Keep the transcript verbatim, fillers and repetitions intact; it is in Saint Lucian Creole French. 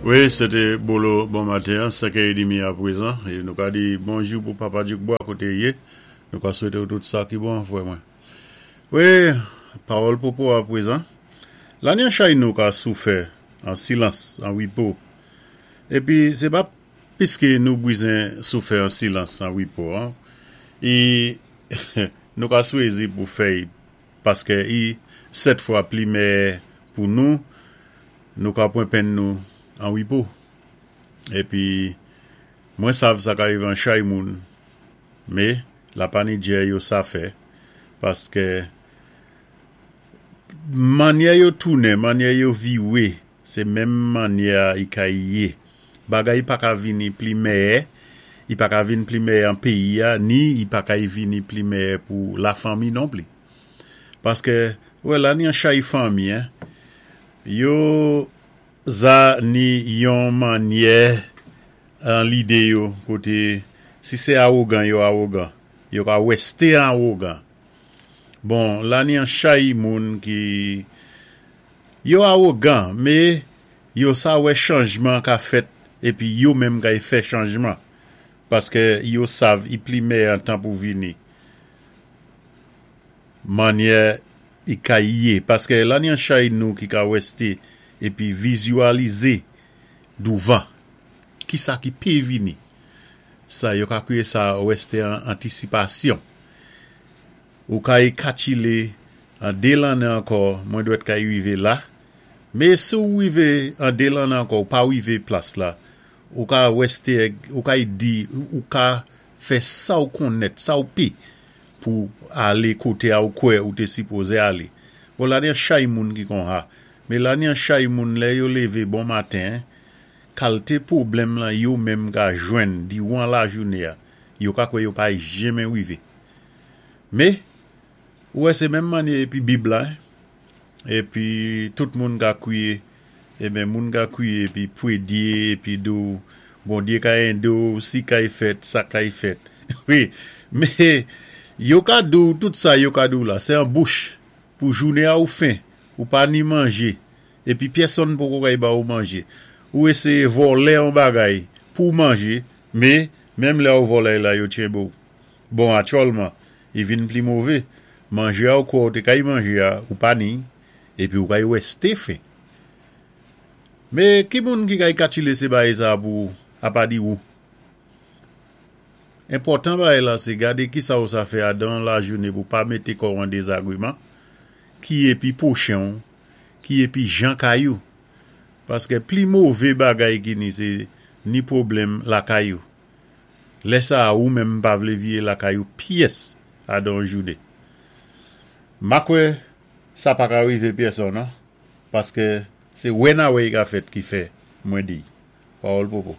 Wi, sé té Bolo bon maten, senkè édmi apwézan. É nou ka di bonjou pou Papa Djoukbois koté i yé. Nou ka swété ou tout sa ki bon, fwè mwen. Wi, pawòl popo apwézan. La ni an chay nou ka soufè an silans, an wipo. Épi sé pa piské nou bizwen soufè an silans, an wipo. An. É nou ka swézi pou fè paské i sèt fwa pli mèyè pou nou, nou ka pwan penn nou an wipo. Épi mwen sav sa ka rivé an chay moun, mé la pa ni djè yo sa fè paské mannyè yo tounen, mannyè yo viwé, sé menm mannyè a i ka yé. Bagay pa ka vini pli mèyè, i pa ka vin pli mèyè an péyi a, ni i pa ka vini pli mèyè pou la fanmi non pli. Paské, wè la ni an chay fanmi, hein, yo za ni yon mannyè an lidé yo koté si sé awogan yo awogan, yo ka wèsté awogan. Bon, la ni an chay moun ki yo awogan, mé yo sa wè chanjman ka fèt épi yo menm kay fè chanjman paské yo sav i pli mèyè an tan pou vini. Mannyè i ka yé paské la ni an chay nou ki ka wèsté épi vizyalizé douvan ki sa ki pé vini. Sa yo ka kwiyé sa wèsté an antisipasyon. Ou kay katchilé an dé lanné ankò, mwen dwèt kay wivé la. Mé si ou wivé an dé lanné ankò, ou pa wivé plas la, ou ka wèsté, ou kay di, ou ka fè sa ou konnèt, sa ou pé pou alé koté a ou kwè ou té sipozé alé. Bon, la ni an chay moun ki kon sa. Mé la ni an chay moun lè yo lévé bon maten, kalité pwoblèm lan yo menm ka jwenn diwan lajounen a, yo ka kwè yo pa janmen wivé. Mé, ou wè sé menm mannyè épi Bib la, épi tout moun ka kwiyé, eben moun ka kwiyé épi pwédyé, épi di ou, Bondyé ka édé ou, si kay fèt, sa kay fèt. Wi, mé yo ka di ou tout sa yo ka di ou la, sé an bouch pou jounen a ou fen, ou pa ni manjé, épi pyèsonn poko kay ba ou manjé. Ou éséyé vòlè an bagay pou manjé, mé menm lè ou vòlè la yo tjenbé ou. Bon, aktyèlman, i vin pli mové. Manjé a ou kwè ou té kay manjé a, ou pa ni, épi ou kay wèsté fen. Mé ki moun ki kay katchilé sé bagay sa pou apa di ou? Enpòtan bagay la sé gadé ki sa ou sa fè adan lajounen pou pa mété kò ou an dézagwéman, ki épi pwochen ou, ki épi jan kay ou. Paské pli mové bagay ki ni sé ni pwoblèm lakay ou. Lè sa ou menm pa vlé viyé lakay ou pyès adan jounen. Ma kwè sa pa ka rivé pyèsonn, non? Paské sé wè na wè i ka fèt ki fè mwen di. Pawòl popo.